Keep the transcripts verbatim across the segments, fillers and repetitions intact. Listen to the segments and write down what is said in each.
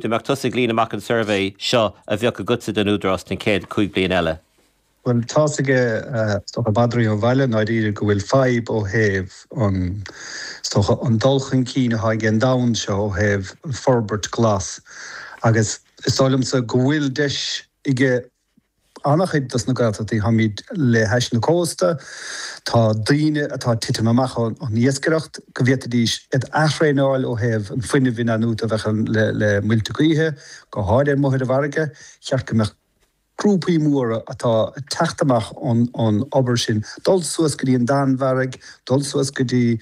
Dá mbeadh tusa ag líonadh amach an suirbhé seo a bheadh agatsa don Údarás den chéad cúig bliain eile. Well tá aige stocha madraí ó bhaile ndáiríre go bhfuil fadhb ó thaobh an stocha an dul chun cinn atá ag an domhan seo ó thaobh an forbairt glas. Agus is dóigh liomsa go bhfuil deis aige an-chuid dos na Gaeltachtaí táimid le hais na cósta, tá daoine atá titim amach an iascaireacht go bhféadfaidís iad a athraenáil ó thaobh an fuinneamh inathnuaite a bheith le le muilte gaoithe, go háirithe amuigh ar an bhfarraige, cheart go mbeadh grúpaí móra atá teacht amach ón ón obair sin, dul suas go dtí an Danmhairg, dul suas go dtí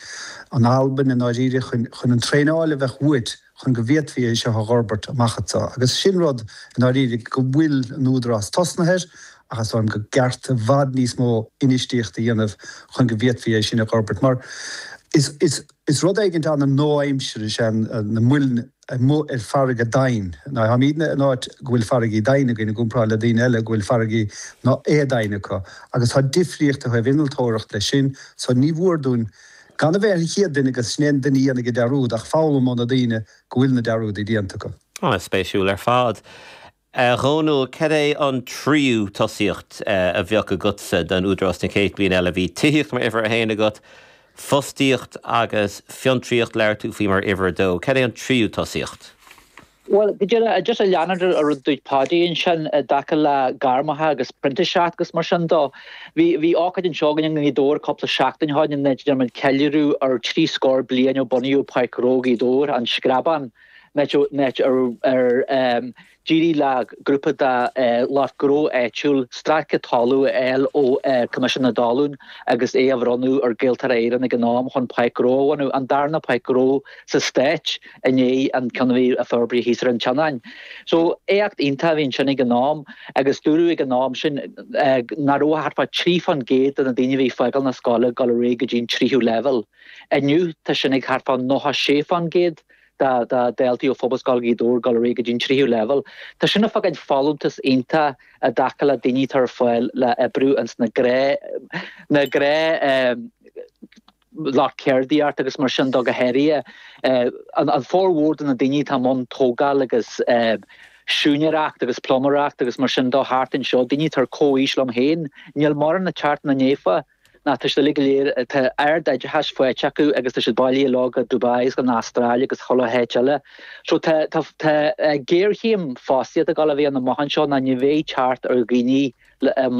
an Albain i ndáiríre chun chun an traenáil a bheith uait chun go bhféadfaí é seo a fhorbairt amach anseo. Agus sin rud i ndáiríre go bhfuil an údarás tosnaithe air ach is dóigh liom go gceart i bhfad níos mó infheistíocht a dhéanamh chun go bhféadfaí é sin a fhorbairt. Mar is is is rud éigin an-nua-aimseartha is ea na muilinn amuigh ar farraige domhain. Ná táimidne in áit go bhfuil farraigí domhain againn i gcomparáid le daoine eile go bhfuil farraigí ná éadomhain acu. Agus tá difríocht ó thaobh innealtóireacht leis sin, so ní mhór dúinn gan a bheith ar an chéad duine agus sin é an duine a dhéanfaidh an dearúd ach foghlaim ó na daoine go bhfuil na dearúdaí déanta acu. An-spéisiúil ar fad. A Dhónaill, cad é an tríú tosaíocht a bheadh agatsa don Údarás na chéad bliain eile? Bhí tithíocht mar uimhir a haon agat, fostaíocht agus fiontraíocht labhair tú faoi mar uimhir a dó. Cad é an tríú tosaíocht? Well go díreach just a leanúint ar rud dúirt Paddy ansin i dtaca le gairmeacha agus printíseacht agus mar sin dó. Bhí bhí ócáid anseo againn i nGaoth Dobhair cúpla seachtain ó shin ina ndearna muid ceiliúradh ar trí scór bliain ó bunaíodh Páirc Ghnó Ghaoth Dobhair, an Screabán, áit ar ar d'éirigh le grúpa de lucht gnó áitiúil stráice talún a fháil ó Coimisiún na dTalún agus é a bhronnadh ar Gaeltarra Éireann ag an am chun páirc ghnó a bhunú, an darna páirc ghnó sa stát i ndiaidh an ceann a bhí a forbraíodh thíos ar an tSionainn. So éacht iontach a bhí ansin ag an am agus dúradh ag an am sin nach raibh thart fá trí faoin gcéad de na daoine a bhí ag fágáil na scoile ag dul ar aghaidh go dtí an tríú leibhéal. Inniu tá sin ag thart fá nócha sé faoin gcéad. de dhaltaí ó Phobalscoil Ghaoth Dobhair dul ar aghaidh go dtí an tríú leibhéal. Tá sin ag fágáil folúntas iontach i dtaca le daoine atá ar fáil le oibriú ins na gné na gné lucht ceardaíocht agus mar sin dó go háirithe. An formhór de na daoine atá i mbun tógáil agus siúinéireacht agus pluiméireacht agus mar sin dó thart anseo, daoine atá ar comhaois liom féin, níl mórán ag teacht ina ndiaidh. Ná tá siad uilig go léir, tá ardoideachas faighte acu agus tá siad bailithe leo go Dubai agus go Astráil agus chuile háit eile. So tá tá tá géarchéim fostaíochta ag dul a bheith ann amach anseo ná ní bheidh teacht ar dhaoine le le